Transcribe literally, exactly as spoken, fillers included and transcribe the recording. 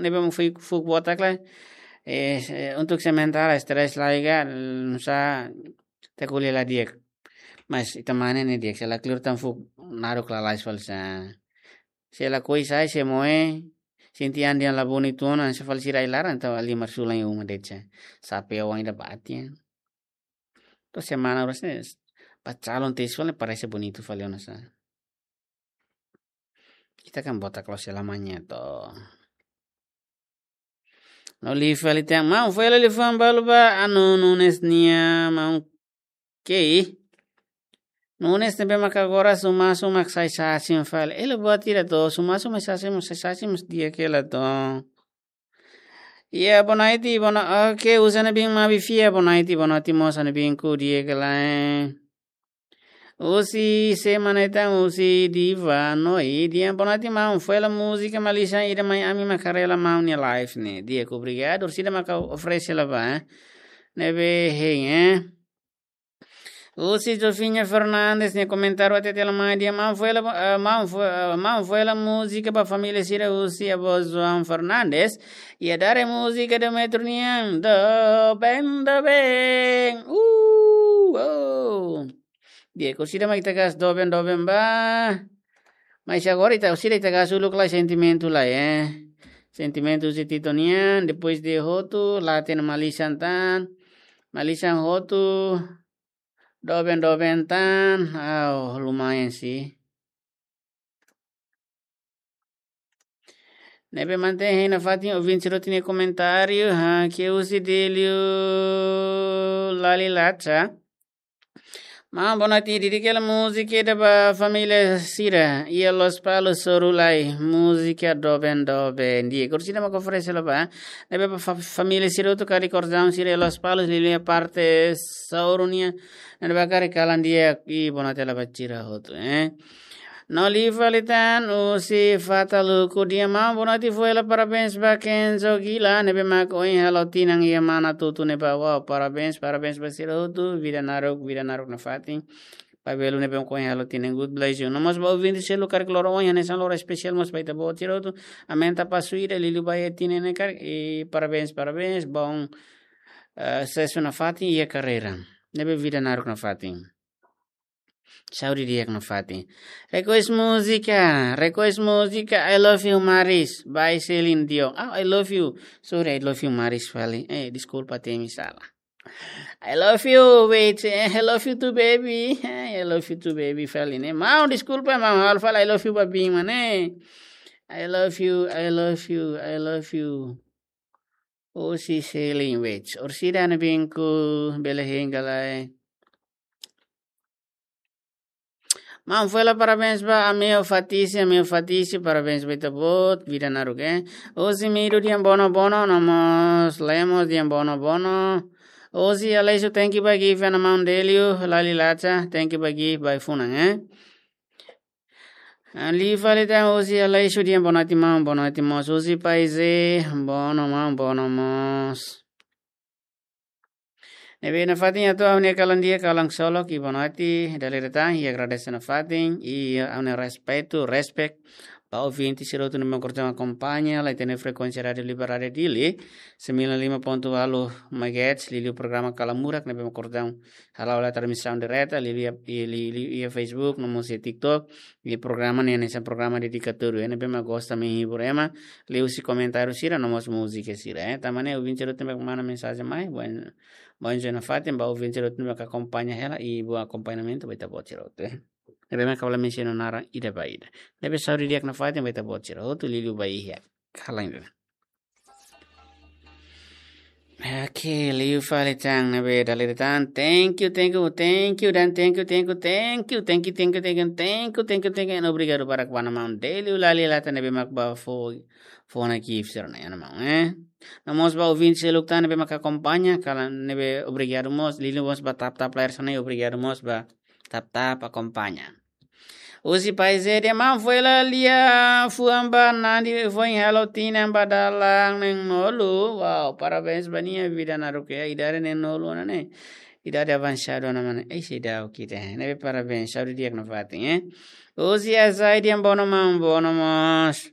ne'ebé mak fuuk, fuuk botak lai. Eh, eh, untuk sementara stres lai ka, mm, sa ta ko'alia la di'ak. Mas ita mane ne'e di'ak, se la kleur tan fuuk naruk lalais fali sa. Se lakohi sai, se moe, sente an dehan la bonitu ona, se fali sira ai-laran, entaun ali marsulan iha uma de'it sa. Sapeu ida bati. To'o semana oras ne'e, ba calon tesi fali parese bonitu fali ona sa. Ita kan botak loos selamanya to. No liu fali tan, maun foin hela liafuan balu ba Anu Nunes nia maun kei. Nunes ne'ebé maka agora sumasu mak sai sasin fali. Ela buat ida to, sumasu mak sasin, mak sai sasin mós di'ak hela to. Iha bonaiti, bona, oke, uza na bin mabi fia, bonaiti, bonaiti mós na bin ku di'ak hela. Husi semana ita husi Diva Noi, dehan bonaiti maun, foin hela múzika malisan ida mai ami mak haree hela maun nia live ne'e. Di'ak, obrigadu, orsida maka oferese hela ba, eh. Ne'ebé hein, eh. Husi Jofinha Fernandes nia komentáriu hatete hela mai dehan maun foin hela, eh, maun foin, eh, maun foin hela múzika ba família sira husi avó João Fernandes. Iha dadeer múzika Demetrio nian, doben, doben. Uh, oh. Di'ak, orsida mak ita gasta doben, doben ba. Mas agora ita, orsida ita gasta uluk lai sentimentu lai, eh. Sentimentu husi Tito nian, depois de hotu, laten malisan tan. Malisan hotu, doben, doben tan. Au, lumayan sih. Ne'ebé mantein hein nafatin ouvinte sira hotu nia komentáriu, ha, ke husi Delio Lali Lacha. Maun bonaiti, dedika hela múzika ida ba família sira iha Lospalos, Soru lai, múzika doben doben. Di'ak, orsida maka oferese hela ba, ne'ebé ba fa-, família sira hotu karik kordaun sira iha Lospalos, liuliu iha parte Soru nian, ne'ebé karik kalan di'ak, i bonaiti hela ba sira hotu, eh. No liu fali tan husi Fata Luku dehan maun bonaiti foin hela parabéns ba Kenzo Gila ne'ebé mak ohin halo tinan iha Manatutu ne'ebá. Wow, parabéns, parabéns ba sira hotu, vida naruk, vida naruk nafatin. Ba belun ne'ebé mak ohin halo tinan, God bless you. No mós ba ouvinte seluk karik loron ohin hanesan loron espesiál mós ba ita-boot sira hotu. Aumenta pasu ida, liuliu ba iha tinan ne'e karik, i parabéns, parabéns, bom, eh, susesu nafatin iha karreira. Ne'ebé vida naruk nafatin. Saúde di'ak nafatin. Request múzika, request múzika I Love You Maris, by Celine Dion. Ah, I love you. Sorry, I love you Maris fali. Eh, deskulpa, temi sala. I love you, wait, eh, I love you too, baby. Eh, I love you too, baby fali ne'e. Maun, deskulpa, maun, ha'u fala I love you ba biin mak ne'e. I love you, I love you, I love you. Husi Celine, wait. Orsida ne'e biin ku bele hein ka lae. Maun foin hela parabéns ba Ameu Fatisi, Ameu Fatisi, parabéns ba ita-boot, vida naruk, eh. Husi Mido dehan bono bono, no mós Lemos dehan bono bono. Husi Aleixo, thank you ba gift ona maun Delio Lali Lacha, thank you ba gift ba ai-funan, eh. Ah, liu fali tan husi Aleixo dehan bonaiti maun, bonaiti mós husi Paize, bono maun, bono mós. Ne'ebé nafatin atu ha'u-nia kalan di'ak, kalan ksolok, i bonaiti, dala ida tan, i agradese nafatin, i ha'u-nia respeitu, respect, ba ouvinte sira hotu ne'ebé mak kordaun akompaña, la ita-nia frekuénsia Rádio Libertária Dili, sembilan lima ponto walu megahertz, liuliu programa Kalan Murak, ne'ebé mak kordaun hala'o hela transmisaun direta, liuliu iha, i, li, li, iha Facebook, no mós iha TikTok, i programa ne'e hanesan programa dedikatóriu, ne'ebé mak gosta menghibur ema, liuhusi komentáriu sira, no mós múzika sira, eh. Tanba ne'e ouvinte sira hotu ne'ebé mak manda mensajen mai, bom, bom dia nafatin ba ouvinte sira hotu ne'ebé mak akompaña hela, i bom akompañamentu ba ita-boot sira hotu, eh. Ne'ebé mak ha'u la mensiona naran ida ba ida. Ne'ebé saúde di'ak nafatin ba ita-boot sira hotu, liuliu ba iha kalan ida. Oke, liu fali tan, ne'ebé dala ida tan. Thank you, thank you, thank you, dan thank you, thank you, thank you, thank you, thank you, thank you, thank you, thank you, and obrigadu barak ba maun Delio Lali Lacha ne'ebé mak bá fó, fó ona gift sira-ne'e, maun, eh. No mós ba ouvinte seluk tan ne'ebé mak akompaña, kalan ne'ebé obrigadu mós, liuliu mós ba tap-tap layar sana, obrigadu mós ba tap-tap akompaña. Husi Paize dehan maun foin hela liafuan ba Nandi foin halo tinan ba dalan neen-nulu. Wow, parabéns ba nia, vida naruk, idade neen-nulu ona ne'e. Idade avansadu ona mak ne'e. Ei, seidauk ita. Ne'ebé parabéns, saúde di'ak nafatin, eh. Husi Azai dehan bono maun, bono mós.